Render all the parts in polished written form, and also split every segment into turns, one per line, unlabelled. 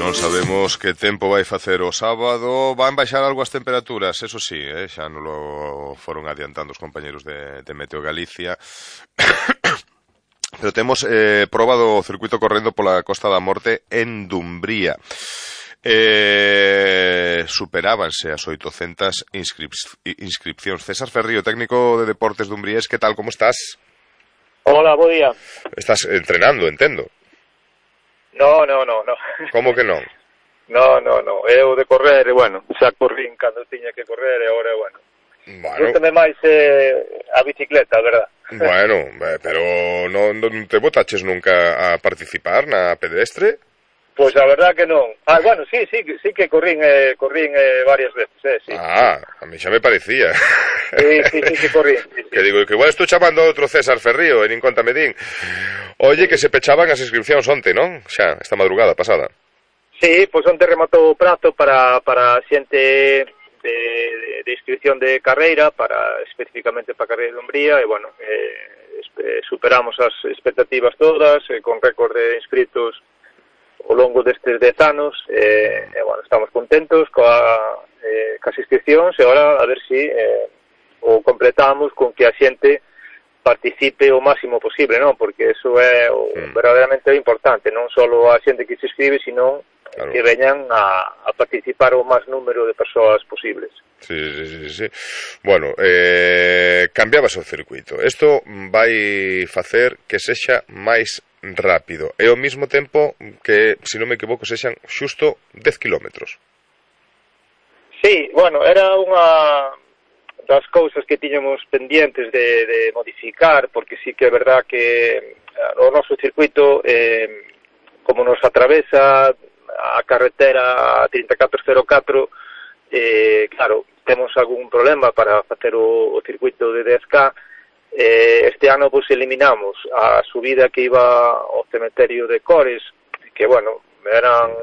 Non sabemos que tempo vai facer o sábado. Van baixar algo as temperaturas, eso sí, xa non lo foron adiantando os compañeros de Meteo Galicia. Pero temos proba do circuito correndo pola Costa da Morte en Dumbría. Superábanse as 800 inscripcións. César Ferrío, técnico de Deportes Dumbriés, que tal, como estás?
Hola, bo día.
Estás entrenando, entendo.
No.
Como que non?
No. Eu de correr, bueno, xa corrín cando tiña que correr e agora, bueno. Gústame máis a bicicleta, verdad?
Bueno, pero non te botaches nunca a participar na pedestre?
Pois a verdad que non. Bueno, sí que corrín varias veces, sí.
A mí xa me parecía.
Sí, que corrín. Sí.
Que digo, que igual estou chamando a outro César Ferrío, e nin conta me din. Oye, que se pechaban as inscripcións onte, non? Xa, esta madrugada pasada.
Sí, pois onte rematou o prazo para xente de inscripción de carreira, especificamente para a carreira de Dumbría, e bueno, superamos as expectativas todas, con récord de inscritos ao longo destes 10 anos, e bueno, estamos contentos cas inscripcións, e agora a ver si o completamos con que a xente participe o máximo posible, non? Porque eso é verdadeiramente importante, non só a xente que se inscribe, sino claro, que veñan a participar o máis número de persoas posibles.
Sí. Bueno, cambiabas o circuito. Isto vai facer que sexa máis rápido e ao mesmo tempo que, se non me equivoco, sexan xusto 10 kilómetros.
Sí, bueno, era unha das cousas que tiñamos pendientes de modificar, porque sí que é verdad que o noso circuito, como nos atravesa a carretera 3404, claro, temos algún problema para facer o circuito de 10K. Este ano pues eliminamos a subida que iba ao cementerio de Cores, que bueno, eran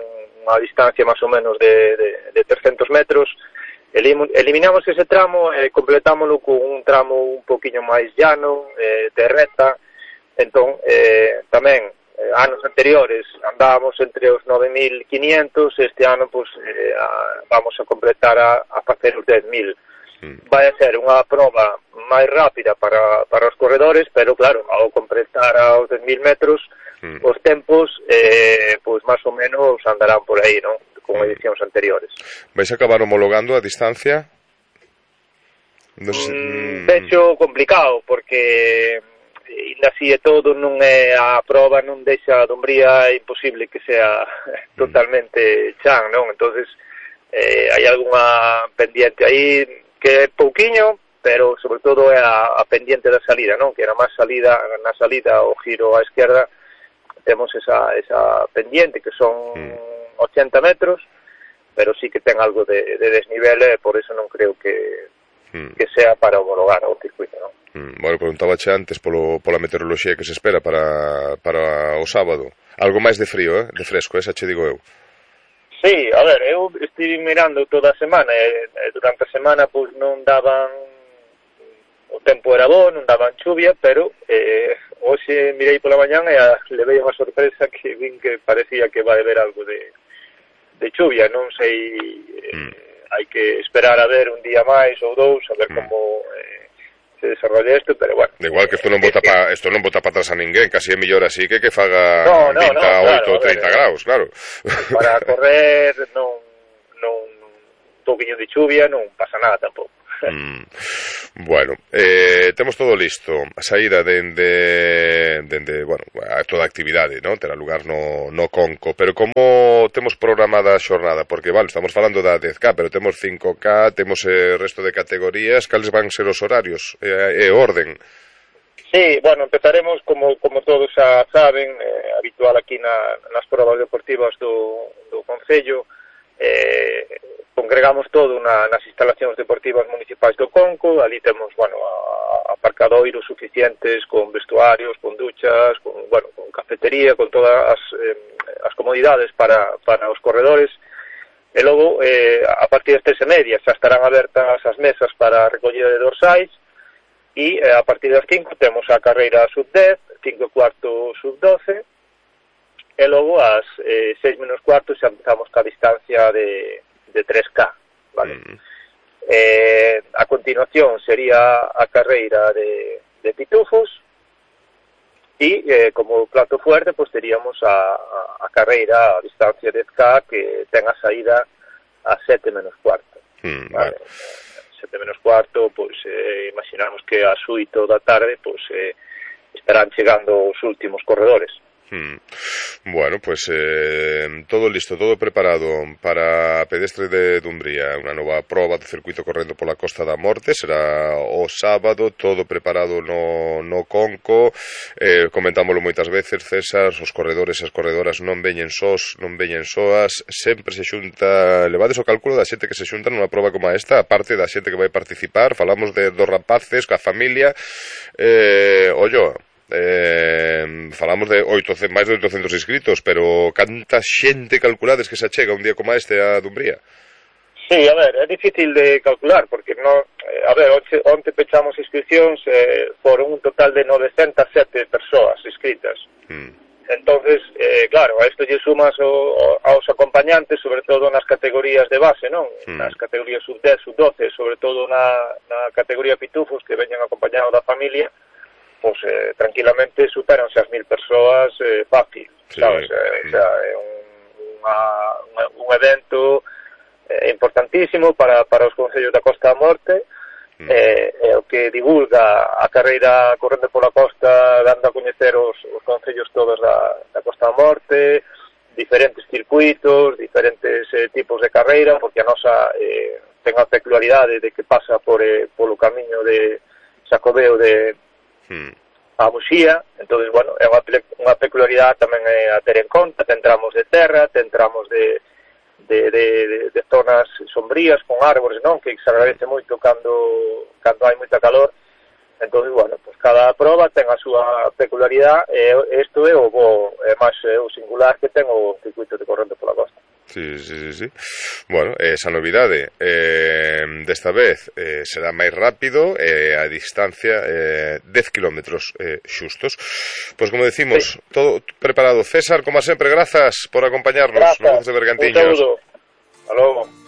unha distancia máis ou menos de 300 metros. Eliminamos ese tramo e completámoslo con un tramo un poquinho máis llano, de reta. Entón, tamén anos anteriores andábamos entre os 9.500, este ano pues, vamos a completar a facer os 10.000. Vai a ser unha proba máis rápida para os corredores, pero claro, ao completar aos 10.000 metros, os tempos pues máis ou menos andarán por aí, non? Con edicións anteriores.
Vais a acabar homologando a distancia?
Vexo complicado, porque ainda así e todo non é a proba, non deixa a Dumbría imposible que sea totalmente chan, non? Entonces hai algunha pendiente aí que é pouquiño, pero sobre todo é a pendiente da salida, non? Que era máis na salida o giro á esquerda, temos esa pendiente que son 80 metros, pero sí que ten algo de desnivel, e por eso non creo que sea para homologar o circuito, non?
Bueno, preguntabache antes pola meteoroloxía que se espera para o sábado. Algo máis de frío, de fresco, esa che digo eu.
Sí, a ver, eu estive mirando toda a semana, e durante a semana pois non daban, o tempo era bo, non daban chuvia, pero hoxe mirei pola mañán e levei unha sorpresa que vin que parecía que vai haber algo de chuvia. Non sei, hai que esperar a ver un día máis ou dous, a ver como se desarrolla isto, pero bueno.
Igual que isto non bota para atrás a ninguén, casi é mellor así que faga 28 ou 30 graus, claro.
Para correr non un poquinho de chuvia non pasa nada tampouco.
Bueno, temos todo listo. A saída dende bueno, toda a actividade, non? Terá lugar no Conco, pero como temos programada a xornada? Porque, vale, estamos falando da 10K, pero temos 5K, temos o resto de categorías. Cales van ser os horarios e orden?
Sí, bueno, empezaremos, como todos xa saben, habitual aquí nas probas deportivas do Concello. Congregamos todo nas instalacións deportivas municipais do Conco. Ali temos, bueno, aparcadoiros suficientes, con vestuarios, con duchas, con cafetería, con todas as comodidades para os corredores. E logo, a partir das 3:30 xa estarán abertas as mesas para a recollida de dorsais, e a partir das 5 temos a carreira sub-10, 5 e cuarto sub-12, e logo ás 6 menos cuarto xa empezamos ca distancia de 3K, vale? A continuación sería a carreira de pitufos e como plato fuerte pues teríamos a carreira a distancia de 10K que ten a saída a 7 menos cuarto, vale? 7 menos cuarto, pues imaginamos que ás 8 da tarde pues estarán chegando os últimos corredores.
Bueno, pues todo listo, todo preparado para pedestre de Dumbría, unha nova proba do circuito correndo pola Costa da Morte, será o sábado, todo preparado no Conco. Comentámoslo moitas veces, César, os corredores e as corredoras non veñen sós, non veñen soas, sempre se xunta, levades o cálculo da xente que se xunta nunha proba como esta, aparte da xente que vai participar, falamos dos rapaces, coa familia, falamos de máis de 800 inscritos, pero canta xente calculades que se achega un día como este a Dumbría?
Sí, a ver, é difícil de calcular, porque non, a ver, onte pechamos inscripcións, foron un total de 907 persoas inscritas. Entonces, claro, a isto lle sumas aos acompañantes, sobre todo nas categorías de base, non? Nas categorías sub-10, sub-12, sobre todo na categoría pitufos, que veñen acompañados da familia, pues tranquilamente superanse as 1000 persoas fácil, sabes? O sea, é un evento importantísimo para os concellos da Costa da Morte, o que divulga a carreira correndo pola costa, dando a coñecer os concellos todos da Costa da Morte, diferentes circuitos, diferentes tipos de carreira, porque a nosa ten a peculiaridade de que pasa polo camiño de Xacobeo de a Muxía, entonces, bueno, é unha peculiaridade tamén a ter en conta. Ten tramos de terra, ten tramos de zonas sombrías con árbores, non? Que se agradece moito cando hai moita calor. Entonces, bueno, pues cada proba ten a súa peculiaridade e isto é o bo, é máis o singular que ten o circuito de corrente pola costa.
Sí. Bueno, esa novidade desta vez será máis rápido, a distancia 10 kilómetros xustos. Pois como decimos, todo preparado. César, como sempre, grazas por acompañarnos.
Grazas,
de Bergantiños.
Un saúdo. Hasta logo.